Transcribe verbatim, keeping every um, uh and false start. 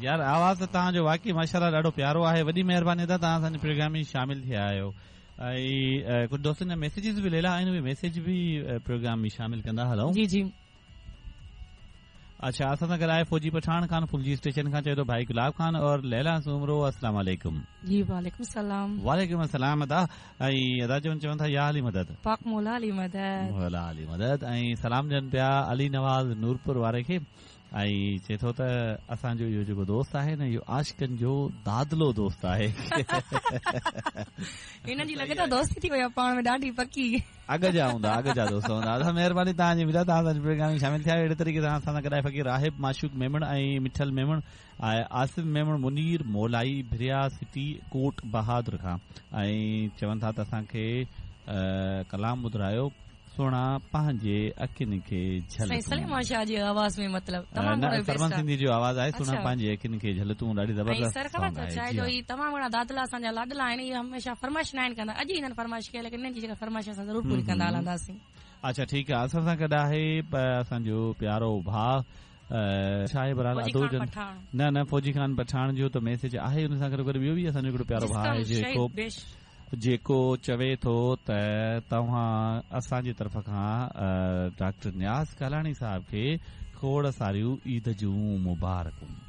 يار آواز ته توهان جو واقعي ماشاءالله ڏاڍو پيارو آهي. وڏي مهرباني ادا، توهان اسان جي پروگرام ۾ شامل ٿيا آهيو. ۽ ڪجهه دوستن جا ميسيجز به ليلا آهن، اهي ميسيج به پروگرام ۾ شامل ڪندا هلون. جي جي. اڇا، اسان سان گڏ آهي فوجي پٺاڻ خان ڦلجي اسٽيشن کان، چئي ٿو ڀائي گلاب خان اور ليلا سومرو السلام عليڪم. جي وعليڪم السلام. وعليڪم السلام ادا. ۽ ادا چون چون ٿا يا علي مدد. پاڪ مولا علي مدد. مولا علي مدد. ۽ سلام ڏين پيا علي نواز نورپور واري کي. ۽ چئي ٿو ته اسان جو اهو جيڪو دوست آهي نه، اهو عاشقن جو دادلو دوست آهي. هنن جي لڳي ٿو دوستي ٿي وئي آهي پاڻ ۾ ڏاڍي پڪي. اڳ جا هوندا، اڳ جا دوست هوندا. ادا مهرباني توهان جي ملا، توهان اسان جي پروگرام ۾ شامل ٿيا. اهڙي طريقي سان اسان سان گڏ آهي فقير راهب معشوق ميمڻ ۽ مٺل ميمڻ ۽ آصف ميمڻ منير مولائي ڀريا سٽي ڪوٽ بهادر کان. ۽ چون ٿا ته اسان کي ڪلام ٻڌرايو سهڻا پنهنجي اکين کي جهل. سائين سليمان شاهه جي آواز ۾ مطلب تمام گهڻو سرمن سنڌي جو آواز آهي، سهڻا پنهنجي اکين کي جهل تون، ڏاڍي زبردست. سر خبر اٿو ڇا جو هي تمام گهڻا دادلا اسان جا لاڏلا آهن، اهي هميشه فرمائش نه آهن ڪندا، اڄ هنن فرمائش ڪئي، ليڪن هنن جي جيڪا فرمائش اسان ضرور پوري ڪندا هلنداسين. اڇا ٺيڪ آهي، اسان سان گڏ آهي اسان جو پيارو ڀاء ڇا آهي بهرحال ادو جن، نه نه فوجي خان پٺاڻ جو ته ميسيج آهي، ان سان گڏ گڏ ٻيو به اسان جو هڪڙو پيارو ڀاء آهي جيڪو جيڪو چوي ٿو ته توهان اسان جي طرف کان ڊاڪٽر نياز ڪالاڻي صاحب کي کوڙ ساريون عيد جون مبارڪون.